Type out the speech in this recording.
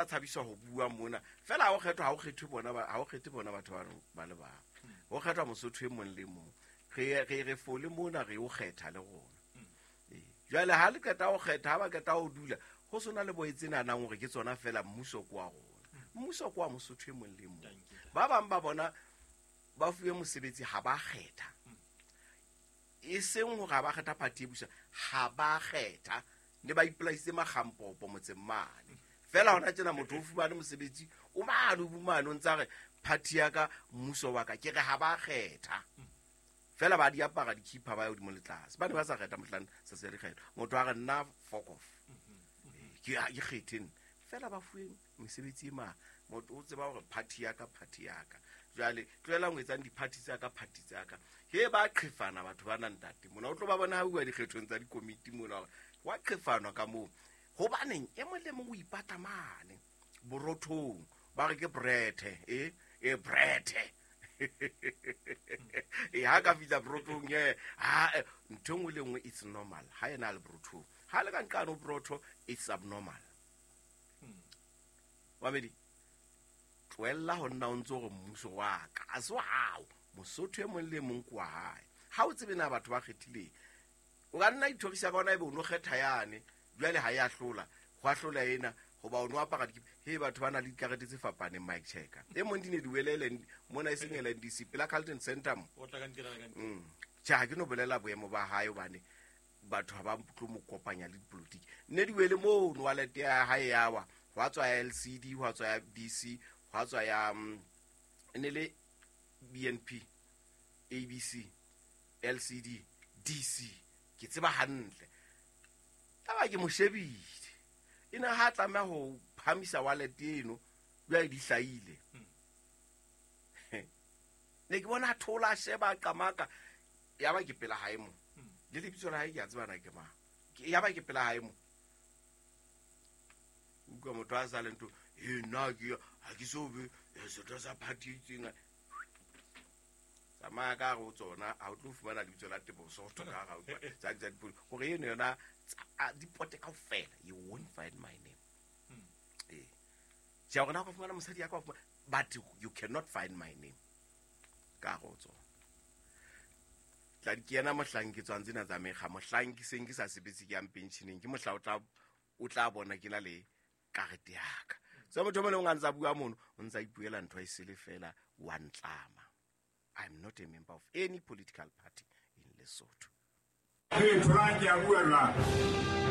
Tshabiswa ho bua mona fela ha o kgethwa, ha o kgethwe bona ha o kgethe bona batho ba le bang, ho kgethwa Mosotho e mong le mong. Re fole mona, re o kgetha le rona. Ee. Jwale ha le qeta ho kgetha, ha ba qeta ho dula, ho sona le boetse nahanang hore ke tsona fela. Mmuso ke wa rona, mmuso ke wa Mosotho e mong le mong. Ba bang ba bona ba fuwe mosebetsi, ha ba kgetha, e seng hore ha ba kgetha party e busa, ha ba kgetha ne ba ipolaisitse makgampopo motseng mane. Fela hona tjena motho o fumane mosebetsi, o mane, o bumane, o ntsa re party ya ka, mmuso wa ka. Ke re ha ba kgetha fela, ba di apara dikhipha, ba ya hodimo le tlase. Ba ne ba sa kgetha mohlang se se dikgetho. Motho a re nna fuck off, ke ha ke kgethe nna. Fela ba fuweng mesebetsi e mang, motho o tseba hore party ya ka, party ya ka. Jwale tlohelang ho etsang di-party tsa ka, party tsa ka. He, ba qhefana batho ba nang ntate mona, o tlo ba bona ha bua dikgethong tsa dikomiti mona hore wa qhefanwa ka moo. Hobaneng? E mong le mong o ipatla mane borothong, ba re ke brethe e brethe e ha ka fihla borothong e ha ntho e nngwe le nngwe, it's normal. Ha ena a le borothong, ha le ka nqane ho borotho, it's abnormal. Mamedi, tlohella ho nna o ntse gore mmuso wa ka a se wa hao. Mosotho e mong le mong ke wa hae. Ha o tsebe na batho ba kgethileng, o ka nna ithorisa ka ona, ebe o no kgetha yane, jwale ha e ahlola, ho ahlola ena hoba o no apara dikipa. He, batho ba na le dikarete tse fapaneng. Mike Checker e mong di ne di wele mona, e seng LNDC, pela Carlton Center mo. O tla ka ntirela ka ntle. Tjhe, ha ke no bolela boemo ba hae hobane batho ha ba tlo mo kopanya le dipolotiki. Nne di wele mono, wallet ya hae yawa, hwa tswa ya LCD, hwa tswa ya DC, hwa tswa ya e ne le BNP, ABC, LCD, DC, ke tseba hantle. Taba ke mo shebile e ne ha tlameha ho phamisa wallet eno, jwale di hlahile. Ne ke bona a thola, a sheba, a qamaka. Ya ba ke pela hae mo, le lebitso la hae ke a tseba na ke mang. Ya ba ke pela hae mo, utlwa motho a sa le ntho e nna ke ha ke so be setho sa party e itseng. Tsamaya ka hare ho tsona, ha o tlo fumana lebitso la Teboho Soto ka hare ho tsa dipolo hore eno yona dipote kaofela, you won't find my name. Ee, tjhe, hore na o ka fumana mosadi ya ka wa fumana, but you cannot find my name ka hare ho tsona. Tla ke yena mohlang ke tswang tsena tsa mekga, mohlang ke seng ke sa sebetse, ke yang pensioneng, ke mohla o tla bona ke na le karete yaka. So motho o mong le mong a ntse a bua mono, o ntse a ipuela ntho e sele fela, wa ntlama. I'm not a member of any political party in Lesotho. Ee, tholang, ke a bua jwale.